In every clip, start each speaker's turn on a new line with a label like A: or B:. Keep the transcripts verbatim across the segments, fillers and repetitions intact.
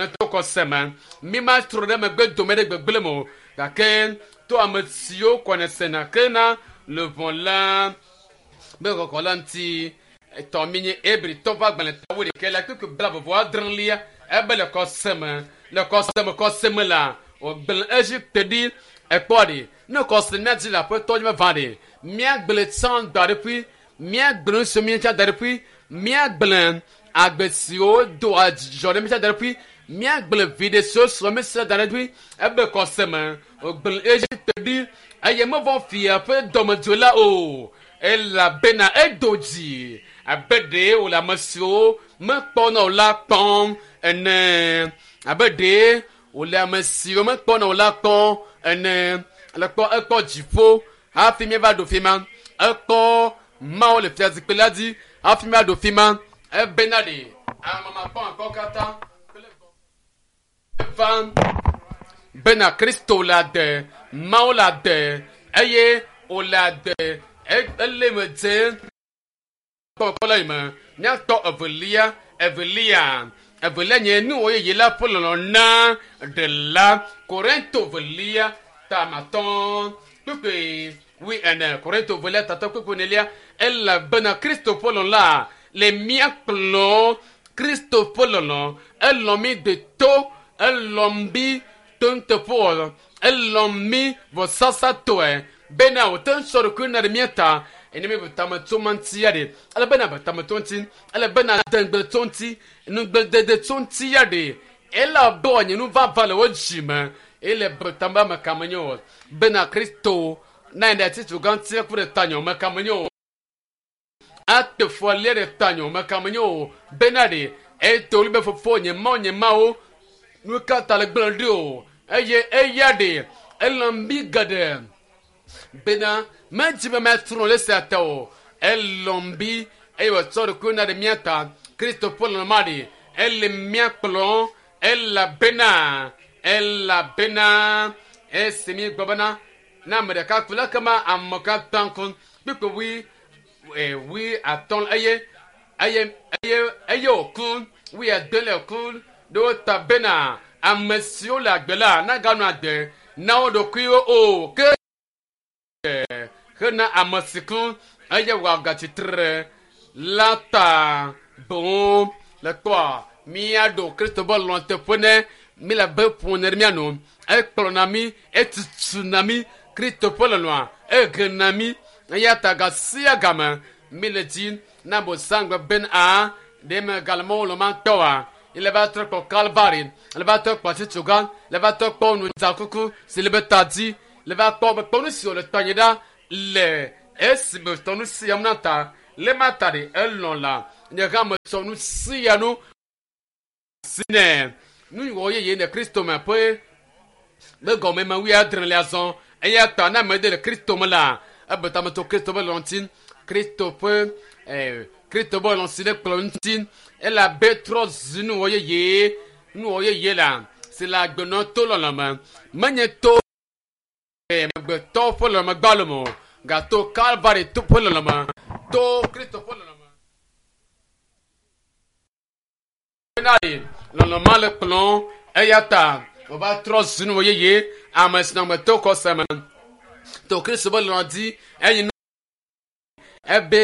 A: to kɔseme mi ma trɔ ɖe megbe dome ɖe gbegblẽ me o gake to ame siwo kɔne sena ke na le vɔ la be kɔkɔ la ŋuti etɔ mi nye ebritɔ ƒe agbalẽ tawo ɖeka la kpekpe bla vovo adrelia ebe le kɔseme le kɔseme kɔseme la wògblẽ Egipte ɖi ekpɔ ɖi ne kɔseme míadzi le aƒetɔ dzi meva ɖi míagblẽ tsã da ɖe ƒui míagblẽ nusiwo míetsã da ɖe ƒui míagblẽ agbe siwo doa dzidzɔ ɖe míetsã da ɖe ƒui míagblẽ viɖe siwo srɔ̃ míesrɔ̃ da ɖe ƒui ebe kɔseme wògblẽ Egipte ɖi eye mevɔ fia ƒe dɔmedzoe la o elabena edo dzi abe ɖe wòle ame siwo mekpɔna o la kpɔm ene abe ɖe wòle ame siwo mekpɔna o la kpɔm ene le kpɔ ekpɔ dziƒo hafi míeva ɖo fi ma ekpɔ Mawu le fiazikpui la dzi hafi míeva ɖo fi ma ebena ɖe ame makpɔmakpɔ katã kple va bena Kristo le ade Mawu le ade eye wòle ade ele me dze kpɔkpɔ la yi me míatɔ evelia evelia evelia nye nuwɔ yeye la ƒe lɔlɔ na ɖela Korinto velia tamatɔ kpekpe wi ene Korinto velia tatɔ kpekpe enelia elabena Kristo ƒe lɔlɔ la le mía kplɔ Kristo ƒe lɔlɔ elɔ mi de to elɔ mi to nuteƒewɔwɔ elɔ mi vɔsasatɔe bena wòte ŋu sɔ ɖokui na ɖe mía ta ene mi tame tso ma ŋuti ya ɖe ele bena be tame tso ŋuti ele bena degbe tso ŋuti nugbedede tso ŋuti ya ɖe ele abe wòanye nu vava le wo dzi me ele be tame ame ka menye o bena Kristo na yi ɖe atitso gã ŋuti ku ɖe tanye o me ka menye o ate fɔ lia ɖe tanye o me ka menye o bena ɖe eto li be fofo nye mawo nye mawo nu ka ta le gblẽ ɖi o eye eya ɖe elɔ mi geɖe bena medzi be matrɔ le sia ta o elɔm bi eye wòtsɔ ɖokui na ɖe mía ta Kristo ƒe lɔlɔ ma ɖe ele mía kplɔ elabena elabena esi mi gbɔ bena na ame ɖeka ku la kema ame katã ku kpekpe wui e wui atɔ̃ eye eye eye eye wòku wui ade le ku ɖe wo ta bena ame siwo le agbe la naganɔ agbe na wo ɖokuiwo o ke hena ame si ku eye wòagatsitre la ta boŋ le kpɔa míaɖo Kristo be lɔlɔ teƒe ne mi le be ƒo ne ɖe mía nu ekplɔna mí etutuna mí Kristo ƒe lɔlɔa ehena mí eya ta ga sia game mi le dzi na bosangbe ben a ɖe me gale mɔwo lɔ ma tɔa ele va trɔ kpɔ Kalvari ele va trɔ kpɔ atitsoga ele va trɔ kpɔ nudzakuku si le be ta dzi le va kpɔ be kpɔ nu si wòle tɔ anyi ɖa le esime tɔ nu sia nu na ta le ma ta ɖe elɔ̃ la nye hã metsɔ nu sia nu si ne nu wɔ yeye le Kristo me ƒe be gɔme me wi adre le azɔ eya ta na ame ɖe le Kristo me la ebe tame tso Kristo be lɔlɔ ŋuti Kristo ƒe eh, Kristo be lɔlɔ si le kplɔ ŋuti elabe trɔ zu nuwɔ yeye nuwɔ yeye la si le agbenɔ to lɔlɔ me menye to amegbetɔ ƒe lɔlɔme gbalo me o gato Kalvari to ƒe lɔlɔme to Kristo ƒe lɔlɔme bena ɖe lɔlɔ ma le kplɔ eya ta wòva trɔ zu nuwɔ yeye ame si nɔ ame to kɔse me to Kristo be lɔlɔ dzi eye nu ebe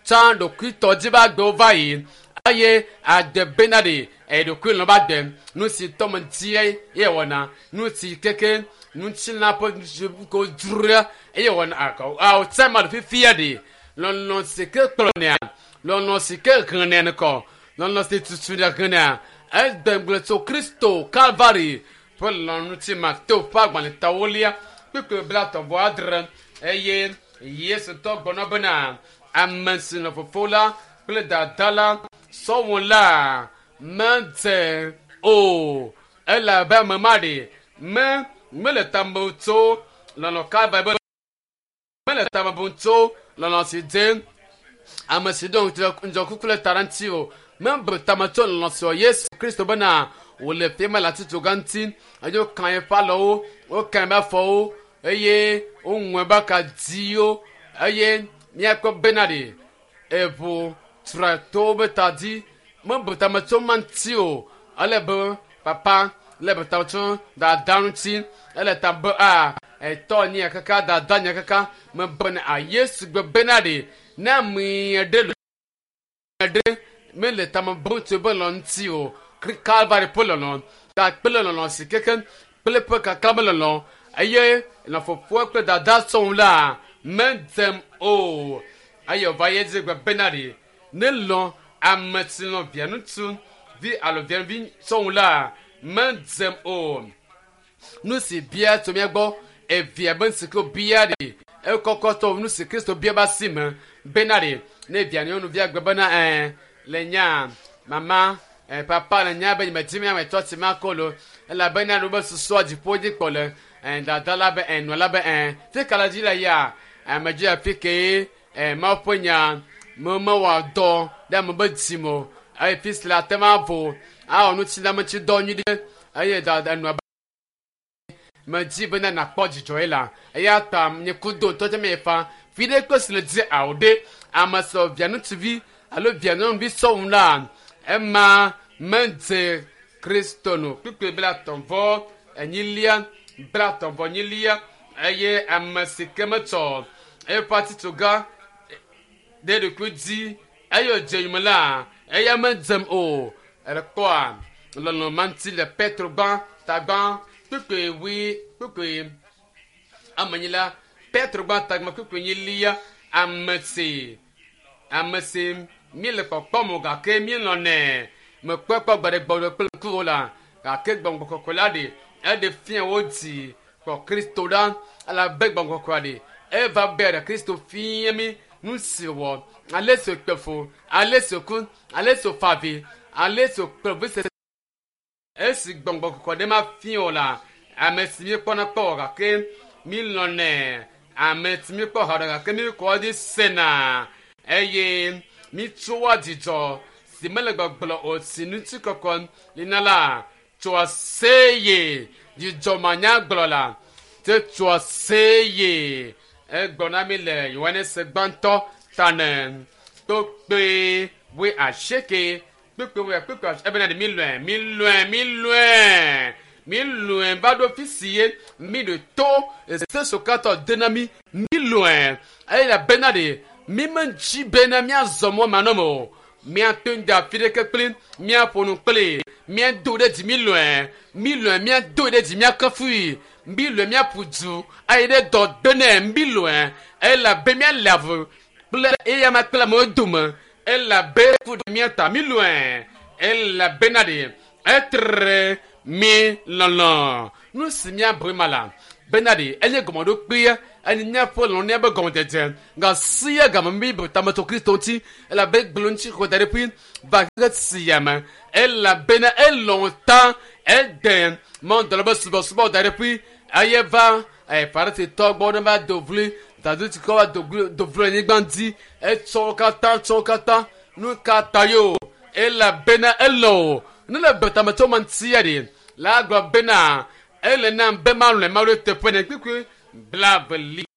A: tsã ɖokuitɔ dzi be agbewo va yi eye ade bena ɖe eɖokui lɔ ba de nu si tɔ me dzi ye wɔna nu si keke ŋutilã ƒe ko dzroa eye wɔna akɔ awo tsa ma le fifia ɖe lɔlɔ si ke kplɔnɛa lɔlɔ si ke henɛ nukɔ lɔlɔ si tutu ɖe henɛa ede ŋugble tso Kristo Kalvari ƒe lɔlɔ ŋuti Mateo ƒe agbalẽ tawolia kpekpe blatɔ̃ vɔ adre eye Yesu tɔ gbɔnɔ bena ame si nɔ fofo la kple dada la sɔwɔ la medze o elabe ame ma ɖe me mele tame tso lɔlɔ Kalvari be mele tame bum tso lɔlɔ si dze ame si ɖo ŋudzɔkuku le ta ɖe ŋuti o mebu tame tso lɔlɔ si wɔ Yesu Kristo bena wòle fia me le atitsoga ŋuti eye wokan eƒe alɔwo wokan eƒe afɔwo eye woŋu eƒe akadziwo eye míakpɔ bena ɖe eʋu tra to be ta dzi mebu tame tso ma ŋuti o ale be Papa le beta tso dada ŋuti ele ta be a etɔ nye kaka dada nye kaka me bena a Yesu gbe bena ɖe ne ame ɖe le ɖe mele tame bum tso be lɔ ŋuti o Kalvari ƒe lɔlɔ ta kple lɔlɔ si keke kple ƒe kaka me lɔlɔ eye nɔ fofoa kple dada sɔŋ la medzem o eye wòva ye dzi gbe bena ɖe ne lɔ ame si lɔ via ŋutsu vi alo via vi sɔŋ la medzem o nu si bia tso mía gbɔ evia be nu si ke bia ɖe ekɔkɔtɔ nu si Kristo bia be asi me bena ɖe ne via nyɔnuvia gbe bena ɛɛ le nya mama ɛɛ papa le nya be nyemedi mi ame tɔ si ma ko lo elabena nu be susua dziƒo dzi kpɔ le ɛɛ dada la be ɛɛ nɔ la be ɛɛ fi ka le dzi le ya ame dzi afi ke ɛɛ Mawu ƒe nya me mewɔ dɔ ɖe ame be dzi me o eye fi si le ate ma vo awɔ nutsi dɔ nyui ɖe eye dada nɔa medzi bena nakpɔ dzidzɔ ye la eya ta nye kudo ŋutɔ tse me fa fi ɖe kpe si le dzi awo ɖe ame sɔ via ŋutsuvi alo via nyɔnuvi sɔŋ la ema medze Kristo no kpukpui bla atɔ̃ vɔ enyilia bla atɔ̃ vɔ enyilia eye ame si ke metsɔ eƒe atitsoga ɖe ɖokui dzi eye wòdze yome la eya medzem o ekpɔa lɔlɔ ma ŋuti le Petro gbã tagbã kpukpui wui kpukpui amenyila Petro gbã tagbã kpukpui nyilia ame si ame si mi le kpɔkpɔm o gake mi lɔnɛ mekpɔe kpɔ gbe ɖe gbɔ kple ŋkuwo la gake gbɔgbɔ kɔkɔe la ɖe eɖe fia wo dzi kpɔ Kristo ɖa elabe gbɔgbɔ kɔkɔe ɖe eva be ɖe Kristo fia mi nu si wɔ ale si wòkpe fu ale si wòku ale si wòfa avi ale si wòkpe vevesese esi gbɔgbɔ kɔkɔe ɖe ma fia o la ame si mi kpɔna kpɔ o gake mi lɔnɛ ame si mi kpɔ haɖe gake mi kɔ dzi sena eye mi tsoa dzidzɔ si mele gbɔgblɔ o si ŋuti kɔkɔ lina la tsoa seye dzidzɔ manyagblɔ la te tsoa seye egblɔ na mi le Yohanes gbãtɔ tane kpokpe wui asieke kpekpe wui kpekpe ebena ɖe mi lɔe mi lɔe mi lɔe mi lɔe va ɖo fi si ye mi ɖe to ese sokatɔ de na mi mi lɔe eye elabena ɖe mi medzi bena miazɔ mɔ manɔme o miato ŋdi afi ɖeke kpli miaƒo nu kpli miado ɖe dzi mi lɔe mi lɔe miado ɖe dzi miakafui mi lɔe miaƒu du ayi ɖe dɔ gbe nɛ mi lɔe elabe miale avu kple eya ma kple amewo dome elabe ku ɖe mia ta mi lɔe elabena ɖe etre mi lɔlɔ nu si miabu ma la bena ɖe enye gɔmeɖokpea enye míaƒe lɔlɔ be gɔmedzedze gasia game mi bu tametɔ Kristo ŋuti elabe gblɔ ŋuti xɔ da ɖe ƒui va xexe sia me elabena elɔ̃ ta ede mɔdɔlɔ be subɔsubɔ da ɖe ƒui eye va ɛ Farisitɔ gbɔ ne va do vli Sadusikɔ va do vli do vli anyigba dzi etsɔ wo katã tsɔ wo katã nu ka ta yo elabena elɔ̃ o ne le be tametɔ ma ŋutia ɖe la gblɔ bena ele nam be malɔe Mawu ɖe teƒe ne kpikpi blaeve li.